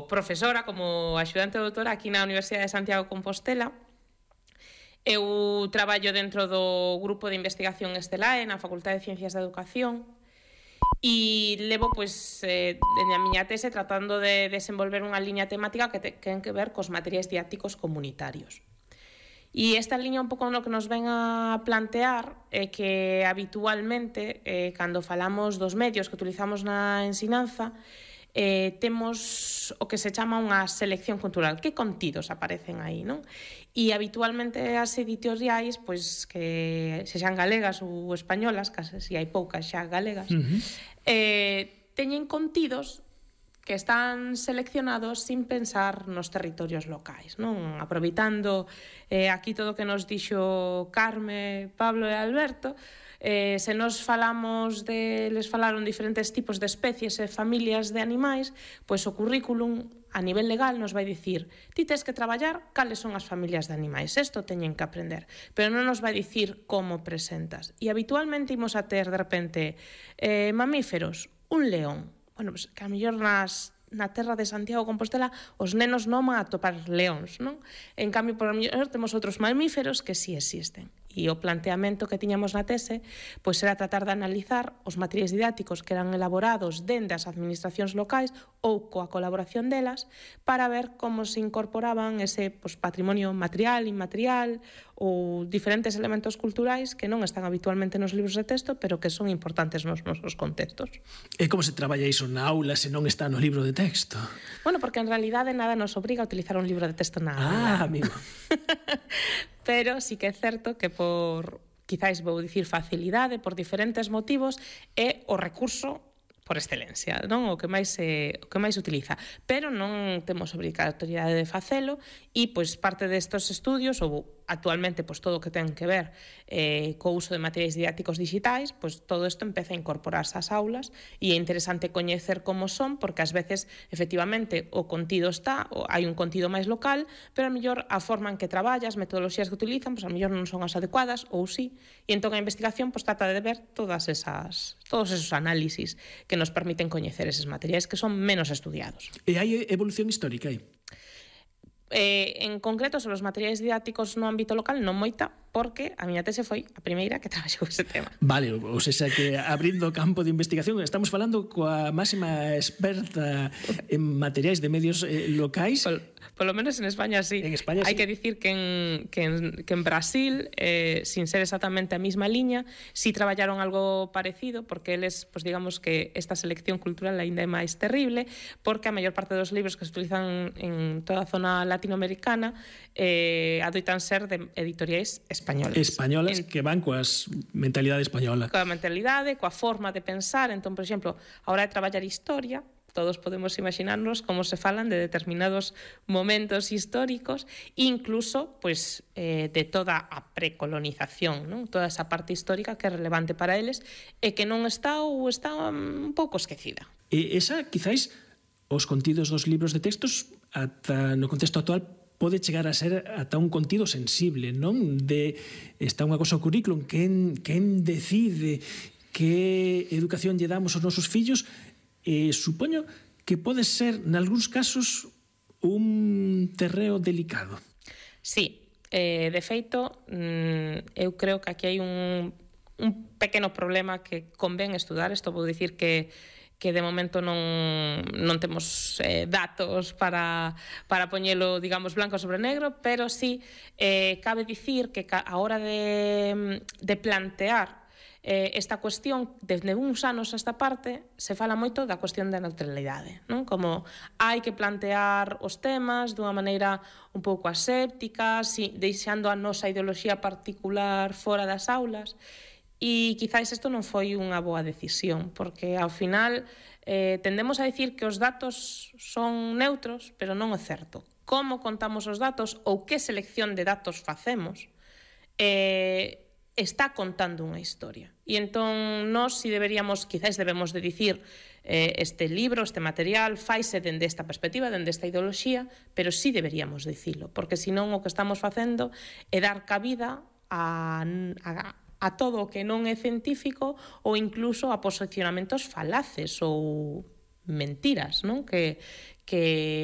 profesora, como axudante doutora aquí na Universidade de Santiago de Compostela. Eu traballo dentro do grupo de investigación Estelae na Facultade de Ciencias da Educación e levo, dende a miña tese tratando de desenvolver unha liña temática que ten que ver cos materiais didácticos comunitarios. E esta liña un pouco no que nos ven a plantear é que habitualmente, cando falamos dos medios que utilizamos na ensinanza, temos o que se chama unha selección cultural. Que contidos aparecen aí, non? E habitualmente as editoriais, pois que sexan galegas ou españolas, case se hai poucas xa galegas, teñen contidos que están seleccionados sin pensar nos territorios locais, non? Aproveitando aquí todo o que nos dixo Carme, Pablo e Alberto, se nos falamos les falaron diferentes tipos de especies e familias de animais, pois o currículum a nivel legal nos vai dicir: ti tes que traballar cales son as familias de animais, isto teñen que aprender, pero non nos vai dicir como presentas. E habitualmente imos a ter de repente mamíferos, un león. Bueno, pues, que a mellor na terra de Santiago de Compostela os nenos non van a topar leóns, non? En cambio, por a mellor temos outros mamíferos que sí existen. E o planteamento que tiñamos na tese pois era tratar de analizar os materiais didácticos que eran elaborados dende as administracións locais ou coa colaboración delas para ver como se incorporaban ese patrimonio material, inmaterial ou diferentes elementos culturais que non están habitualmente nos libros de texto, pero que son importantes nos nosos contextos. E como se traballa iso na aula se non está no libro de texto? Bueno, porque en realidade nada nos obriga a utilizar un libro de texto na aula. Amigo. Pero sí que é certo que quizáis vou dicir facilidade, por diferentes motivos, é o recurso por excelencia, non? O que máis se utiliza, pero non temos obrigatoriedade de facelo e pois parte destes estudios ou actualmente pois todo o que ten que ver co uso de materiais didácticos digitais, pois todo isto empeza a incorporarse ás aulas e é interesante coñecer como son, porque ás veces efectivamente o contido está, hai un contido máis local, pero a mellor a forma en que traballa, as metodoloxías que utilizan, pois a mellor non son as adecuadas ou sí, e entón a investigación pois trata de ver todos esos análisis que nos permiten coñecer eses materiais que son menos estudiados. E hai evolución histórica aí? En concreto, sobre os materiais didácticos no ámbito local, non moita, porque a miña tese foi a primeira que traballou ese tema. Vale, ou seja que abrindo o campo de investigación estamos falando coa máxima experta en materiais de medios locais. Polo menos en España sí. En España Hai sí. que dicir que en Brasil, sin ser exactamente a mesma liña, sí traballaron algo parecido, porque eles, pues digamos que esta selección cultural aínda é máis terrible, porque a maior parte dos libros que se utilizan en toda a zona latinoamericana adoitan ser de editoriais españolas. Españolas que van coas mentalidade española. Coa mentalidade, coa forma de pensar. Entón, por exemplo, a hora de traballar historia, todos podemos imaginarnos como se falan de determinados momentos históricos, incluso pues, de toda a precolonización, non? Toda esa parte histórica que é relevante para eles e que non está ou está un pouco esquecida. E esa, quizáis, os contidos dos libros de textos ata no contexto actual pode chegar a ser ata un contido sensible, non? Está unha cosa o currículum, quen decide que educación lle damos aos nosos fillos. Supoño que pode ser, nalgúns casos, un terreo delicado. Sí, de feito, eu creo que aquí hai un pequeno problema que convén estudar. Isto vou dicir que de momento non temos datos para poñelo, digamos, blanco sobre negro, pero sí cabe dicir que a hora de plantear esta cuestión, desde uns anos a esta parte, se fala moito da cuestión da neutralidade, non? Como hai que plantear os temas dunha maneira un pouco aséptica, deixando a nosa ideoloxía particular fora das aulas, e quizáis isto non foi unha boa decisión, porque ao final tendemos a dicir que os datos son neutros, pero non é certo. Como contamos os datos ou que selección de datos facemos está contando unha historia. E entón, nós, si deberíamos, quizáis debemos de dicir este libro, este material, faise dende esta perspectiva, dende esta ideoloxía, pero si deberíamos dicilo, porque senón o que estamos facendo é dar cabida a todo o que non é científico ou incluso a posicionamentos falaces ou mentiras, non? Que que